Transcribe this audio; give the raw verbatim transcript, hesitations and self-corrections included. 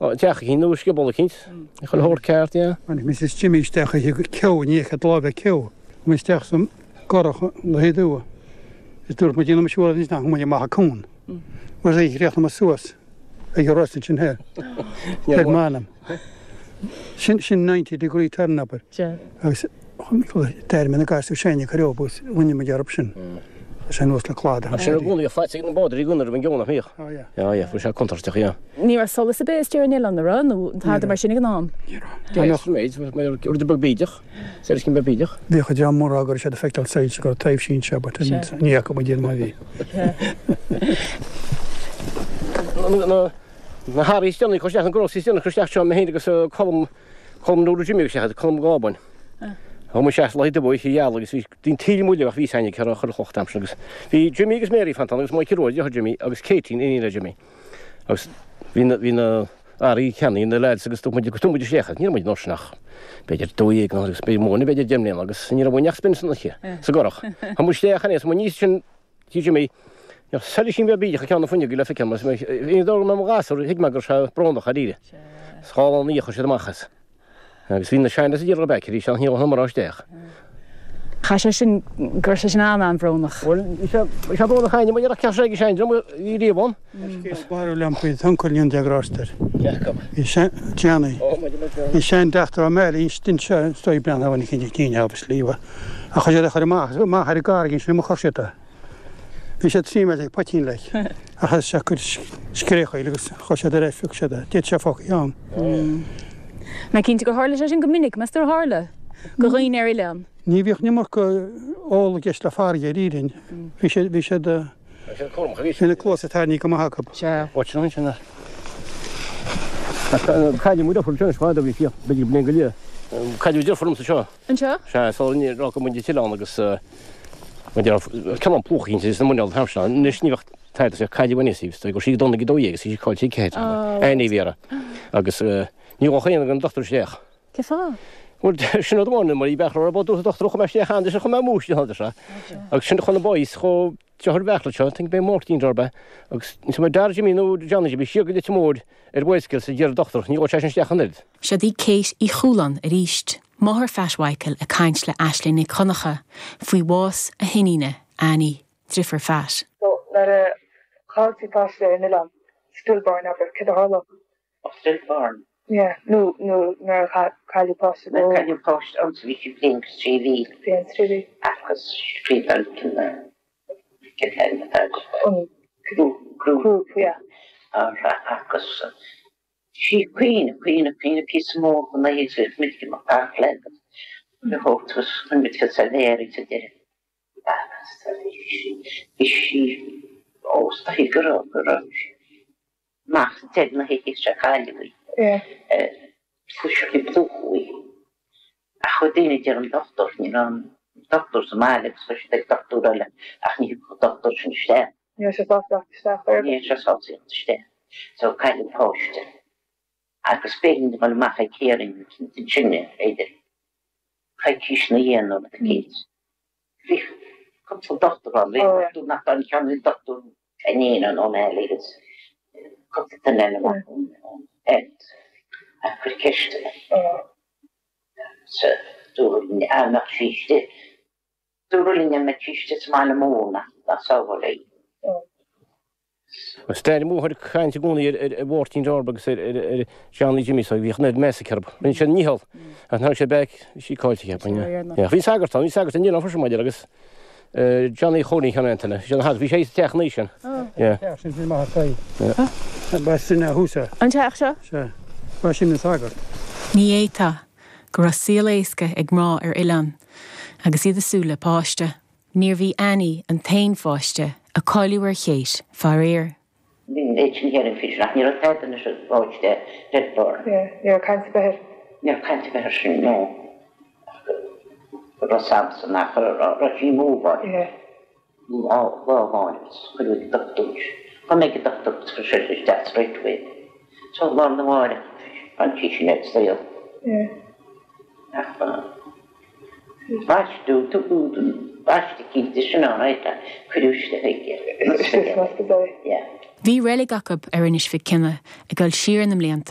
Teach eicínt nó scioból eicínt, chuile shórt ceart, yeah. Tháinig Mrs Jimmy isteach ag ceo, ní fheicfeadh lámh ag ceo. Chuaigh mé isteach sa gcurach le haghaidh dua. Is dúirt muid déanfaidh siúl anois nach muid amach an cuan. Mar sin chríochnaigh mé suas ag an ros ansin thoir. Ar m'anam. Sin sin ninety degree turn abair. Agus d'éirigh mé na gasúir sin ag cur agus rinne muid orthu sin. Tá sé anuas le cladach. Tá sé i gcónaí faighte ag na bádóirí i gcónaí roimh an gceo nach mbíodh? Oh yeah. Yeah yeah, fuair sé contúirteach, yeah. Ní raibh solas ar bith istigh ar an oileán, an raibh? Nó tada mar sin ag an am? Ní raibh. Deis, méid, rud beag bídeach, soilisín beag bídeach. Bhíodh an dream mór á go raibh siad ag feiceáil soilse go raibh taibhsí anseo but ní fhaca muid iad má bhí. Na hearraí is déanaí a chur isteach, na groceries is déanaí a chur isteach seo, mé féin agus Colm, Colm Nuada Jimmy agus isteach, Colm Gábáin. Chuaigh muid isteach lá dubh oíche gheal agus bhí an taoille muile ach bhí fhios againn cé raibh chuile chloch an t-am sin agus bhí Jimmy agus Mary fanta ann agus Mikey Rua, deartháir Jimmy, agus Katie, iníon le Jimmy. Agus bhí na, bhí na earraí ceannaithe ag na lads agus dúirt muid, thug muid isteach, ní raibh muid an uair sin ach b'fhéidir dó dhéag nó agus b'fhéidir mó nó b'fhéidir deich mbliana agus ní raibh uainn ach spin san oíche, sa gcurach. Chuaigh muid isteach aníos, muid aníos sin tí Jimmy, ní raibh soilisín beag bídeach ag ceann na fuinneoige le feiceáil, mar bhí an dóigh go mbeadh mo ghasúr, thuig mé go raibh sé brónach dáiríre. Is dhá lá ina dhiaidh chuir siad amach as. Agus bhí na sean-lads ag iarraidh back arís ach ní raibh na mná isteach. Chaith sé sin, go raibh sé sin an-an-bhrónach. Bhuel, bhí sé, bhí sé brónach againne, mar ní raibh sé ag an seandream a bhí riamh ann. Scéal barúil liom faoi d'uncail an déag roster. Cé acu? Bhí sean, Johnny. Ó, maidir le Johnny. Bhí seandeachtar Ó Máille anseo is dóigh bliain a bhain cinnte cinn obviously ach chuir siad é chur amach, amach ar an gcarraig ansin a chuir siad é. Bhí sé trí méadar ag poitín like ach thosaigh sé ag cur scréachaíl agus chuir siad ar ais phioc siad é. D'fhéadfadh sé fágtha ann. Mé cinnte gur tharla sé sin go minic, meas tú ar tharla? Do dhaoine ar oileán. Ní bhíodh an iomarca ól i gceist le farraige ar Éirinn. Bhí siad, bhí siad, Bhí siad cúramach, bhí. Bhí na cluasa tarraingthe go maith acu. Sea. Áit sin ansin a. Cailleadh mo dheirfiúr anseo anois fada, bhí sí b'fhéidir bliain go leith. Cailleadh deirfiúr liomsa anseo. Anseo? Sea, sula raibh muid an t-oileán agus ceann plúch eicínt is na muineál an t-am sin. Anois ní bheadh tada sa cailleadh aníos í, go raibh sí ag dul ag a dó dhéag agus bhí sí caillte ag ceathair. Annie a bhí uirthi. Agus ní ghabhfadh aon den dochtúir isteach. Cé fáth? Bhuel, sin rud amháin, mar bhí beach raibh dúirt an dochtúir chuaigh mé isteach ann, chuaigh mé amú isteach ann, sea. Agus sin chun na boys chomh deartháir Bheartla seo, think b'é Máirtín darb ea, agus ní raibh Dara Jimmy nó Johnny Jimmy siar go Leitir Móir ar bhicycle sa deireadh dochtúir, ní ghabhfadh sé sin isteach an oiread. Siod í Kate Uí Chualáin arís, máthair Phat Mhichael ag caint le Aisling Nic Dhonncha faoi bhás a hiníne, Annie, driofúr Phat. So nuair a chailltí páiste ar an oileán, stillborn abair, céard a tharlódh? Oh, stillborn. Yeah, nó nó nuair a cailleadh páiste Nuair a cailleadh páiste ann so bhí sí bliain agus trí mhí. Bliain agus trí mhí. Agus scríobh cén t-ainm atá agat? An Grúpa. Grúpa, yeah. Agus sí caoineadh, caoineadh, caoineadh píosa mór den oíche agus muid ag imeacht thart le le thabhairt agus chuir muid fios ar Mhéaraí sa deireadh. Agus bhí sí os do go raibh go raibh sí amach sa deireadh na hoíche seo cailleadh í. Fuair sí plúchadh í. Ach chuaigh daoine a deir an dochtúir, ní raibh an dochtúir sa mbaile agus chuir siad ag dochtúir eile ach ní thiocfadh an dochtúir sin isteach. Ní raibh sé sásta teacht isteach ar. Ní raibh sé sásta teacht isteach. So cailleadh an páiste. Agus b'éigean dó dul amach ag hearing ansin b'fhéidir coicís ina dhiaidh nó rud eicínt. Bhí cúpla dochtúir ann, bhí dochtúir nach raibh an ceann, bhí dochtúir Feneen an O'Malley agus cúpla duine eile amach ón health ag cur ceisteanna. Sea, dúradh linn dá mbeadh sí istigh, dúradh linn dá mbeadh sí istigh sa mbaile mór nach, nach sábháil í. Is d'éirigh mo mháthair ag caint i gcónaí ar ar Mháirtín Darb agus ar ar ar Johnny Jimmy so bhíodh an oiread meas aici orthu. Rinne siad a ndícheall ach nuair a tháinig siad back bhí sí caillte cheapfainn. Yeah. Bhí sagart ann, bhí sagart in Oileán freisin maidir agus Johnny Chóilín Sheáin Antaine, bhí sé ina shagart, bhí sé sa teach ina dhiaidh sin. Yeah. Teach sin bhí maith ar aghaidh. Ba sin a thús é. An teach seo? Sea. Ba sin an sagart. Ní fhéadfá go raibh saol éasca ag mná ar oileán agus iad ag súil le páiste. Níorbh í Annie an t-aon pháiste a cailleadh ar Kate, faraor. Bhí an méid sin hearing faoi sin ach ní raibh tada anois ag páiste stillborn. Yeah, ní raibh caint ar bith air. Ní raibh caint ar bith air sin, no. Ach go raibh samsa nach raibh sí move-áil. Yeah. Lá lá amháin agus cuireadh ag dochtúir. Chuaigh mé ag an dochtúir agus chuir sé isteach straight away. So lá arna mháireach tháinig sí sin ar an saol. Yeah. Ach baisteadh, tugadh baisteadh cinnte sin all right ach cuireadh isteach ag an ospidéal. Yeah. Bhí reilig acu ar Inis Mhic Cionnaith ag dul siar na mblianta.